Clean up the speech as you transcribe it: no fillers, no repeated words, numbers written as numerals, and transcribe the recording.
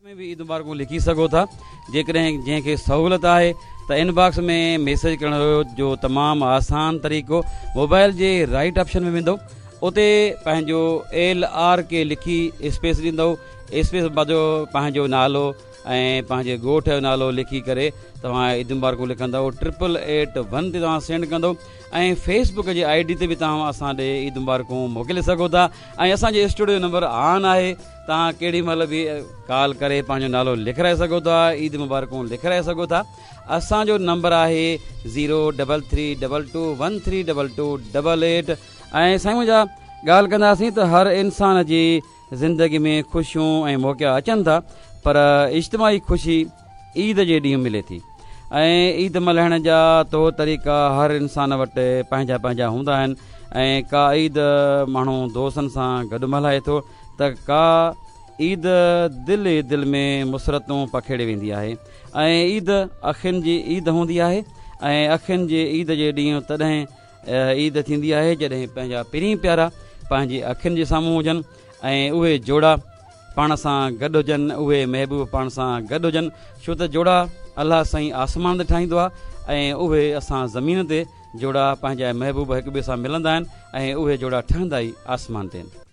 ۾ به عيد مبارڪون لکي سگهو ٿا جيڪڏهن جنهن کي سهولت آهي ته ان باڪس ۾ ميسيج ڪرڻ جو تمام آسان طريقو موبائل جي رائٽ آپشن ۾ ويندو اتي پنهنجو ايل آر ڪي لکي اسپيس ڏيندو اسپيس بعد پنهنجو نالو ۽ پنهنجي ڳوٺ جو نالو لکي ڪري توهان عيد مبارڪون لکندو ٽرپل ايٽ ون تي توهان سينڊ ڪندو ۽ فيس بڪ جي I D تي به توهان اسان ڏي عيد مبارڪون موڪلي سگهو ٿا ۽ اسان جي اسٽوڊيو نمبر آن آهي توهان ڪيڏي مهل به ڪال ڪري پنهنجو نالو لکرائي سگهو ٿا عيد مبارڪون لکرائي سگهو ٿا اسان جو نمبر آهي zero double three double two one three double two double eight ۽ سائين منهنجا ڳالهه ڪنداسين ته هر انسان جي زندگي ۾ خوشيون ۽ موقعا اچن ٿا پر اجتماعي خوشي عيد جي ڏينهن ملي ٿي ۽ عيد ملهائڻ جا طور طريقا هر انسان وٽ پنهنجا پنهنجا هوندا آهن ۽ ڪا عيد ماڻهو دوستن سان گڏ ملهائي ٿو ته ڪا عيد دل ئي دل ۾ مسرتون پکيڙي ويندي آهي ۽ عيد اکين جي عيد هوندي آهي ۽ اکين جي عيد جي ڏينهن تڏهن عيد ٿيندي آهي جڏهن پنهنجا پرين پيارا پنهنجي اکين جي سامهون هجن ۽ اهي جوڙا پاڻ سان گڏ هجن اهي محبوب پاڻ سان گڏ هجن ڇو ته جوڙا الله سائين آسمان تي ٺاهيندو آهي ۽ اهي اسان زمين تي جوڙا پنهنجا محبوب هڪ ٻئي سان ملندا آهن ۽ اهي جوڙا ٺهندا ئي آسمان تي آهن.